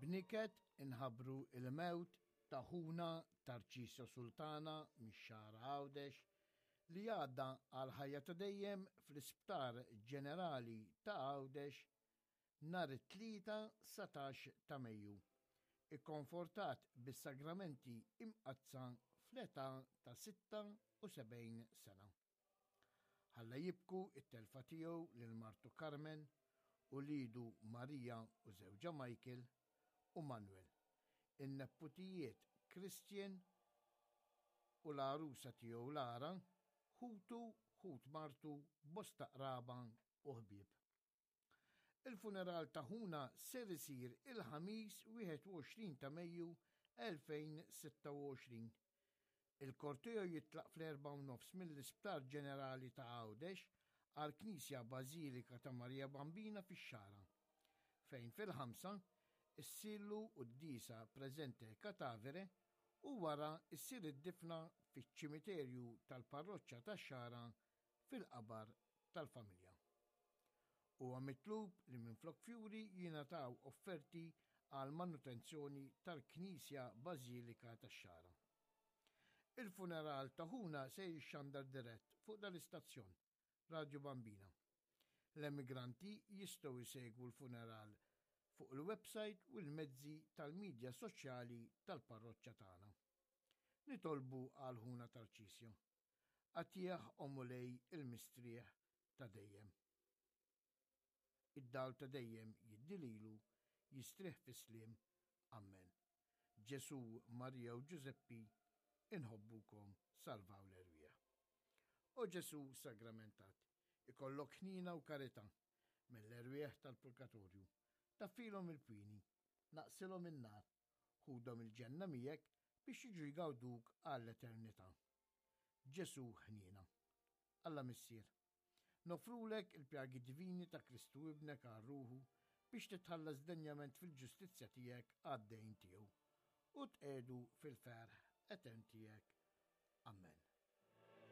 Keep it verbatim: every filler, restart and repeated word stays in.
B'niket inħabbru il-mewt ta' ħuna Tarċisio Sultana mix-Xagħra Għawdex li għadda għal ħajja ta' dejjem fl-Isptar Ġenerali ta' Għawdex nhar it-Tlieta satax ta' Mejju, ikkonfortat bis-sagramenti imqaddsa fl-età ta' sitta u sebgħin sena. Ħalla jibku it-telfa tiegħu lil martu Carmen u lidu Maria u żewġha Michael u Manuel, in-neputijiet Christian u l-għarusa tiegħu Lara, ħutu, ħut martu, bosta qraba u ħbieb. Il-funeral ta' ħuna ser isir il-Ħamis wieħed u għoxrin ta' Mejju elfejn sitta u għoxrin. Il-korteo jitlaq fl-erbgħa u nofs mill-Isptar Ġenerali ta' Għawdex għall-Knisja Bażilika ta' Marija Bambina fix-Xagħra, fejn fil-ħamsa issirlu quddiesa preżente katavere u wara issir id-difna fiċ-ċimiterju tal-parroċċa tax-Xagħra fil-qabar tal-familja. Huwa mitlub li minflok fjuri jingħataw offerti għal manutenzjoni tal-Knisja Bażilika tax-Xagħra. Il-funeral ta' ħuna se jixxandar dirett fuq dal-istazzjon, Radio Bambina. L-emigranti jistgħu jsegwu l-funeral fuq il-website u l-mezzi tal-medja soċjali tal-parroċċa tagħna. Nitolbu għal ħuna Tarċisio. Għatih o Mulej il-mistrieħ ta' dejjem. Id-dawl ta' dejjem jiddililu, jistrieħ fis-sliem. Amen. Ġesu, Marija u Ġużeppi, inħobbukom, salvaw l-erwieħ. O Ġesu sagramentat, ikollok ħnina u karità mill-erwieħ tal-purgatorju, taffilhom il-pwini, naqsilhom in-nar, ħudhom il-ġenna miegħek biex jiġu jgawduk għall-eternità. Ġesu ħnina. Alla Missier, nofrulek il-pjagi divini ta' Kristu ibnek għal ruħu biex titħallas denjament fil-ġustizzja tiegħek għad-dejn tiegħu u tqegħdu fil-ferħ etern tiegħek. Amen.